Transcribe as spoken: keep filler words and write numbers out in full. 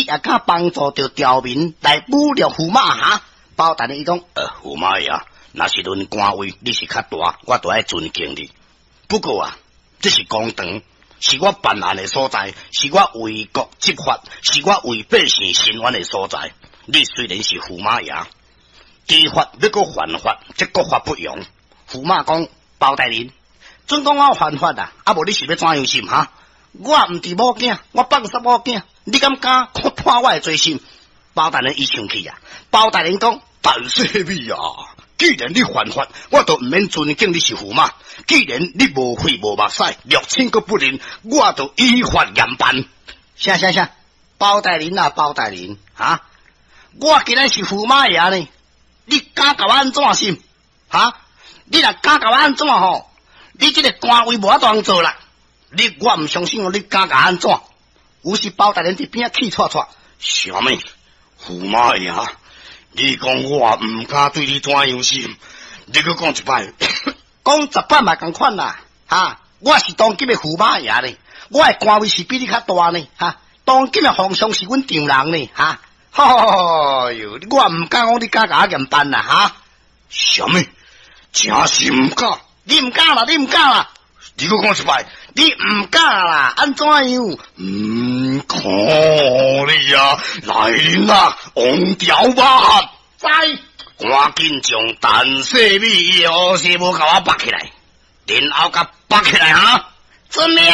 也敢幫助著僑民來侮辱駙馬哈？包大人伊講，呃，駙馬爺，若是論官位，你是較大，我都愛尊敬你。不過啊，這是公堂，是我辦案的所在，是我為國執法，是我為百姓伸冤的所在。你雖然是駙馬爺，知法欲閣犯法，這國法不容。駙馬講，包大人，準講我犯法啊？啊無你是欲怎樣審哈？我毋是某囝，我放殺某囝，你敢敢看破我的罪心？包大人伊生氣啊！包大人講，陳世美啊，既然你犯法，我就毋免尊敬你是駙馬。既然你無血無目屎，六親閣不認，我就依法嚴辦。啥啥啥？包大人啊，包大人啊！我今仔是駙馬爺呢，你敢共我按怎審？哈？你若敢共我按怎吼？你這個官位無法度做啦！你我毋相信哦，你敢共我按怎？有時包大人佇邊仔氣掣掣，啥物？駙馬爺，你講我毋敢對你怎樣審？你閣講一擺，講十擺嘛仝款啦！哈！我是當今的駙馬爺呢，我的官位是比你較大呢！哈！當今的皇上是阮丈人呢！哈！哎喲，我毋敢講你敢共我嚴辦啦！哈！啥物？真是毋敢？你毋敢啦！你毋敢啦！你閣講一擺，你毋敢啦？按怎樣？嗯，可你啊！來人啊！王朝馬在，趕緊將陳世美伊的烏紗帽共我縛起來，然後共縛起來哈！遵命。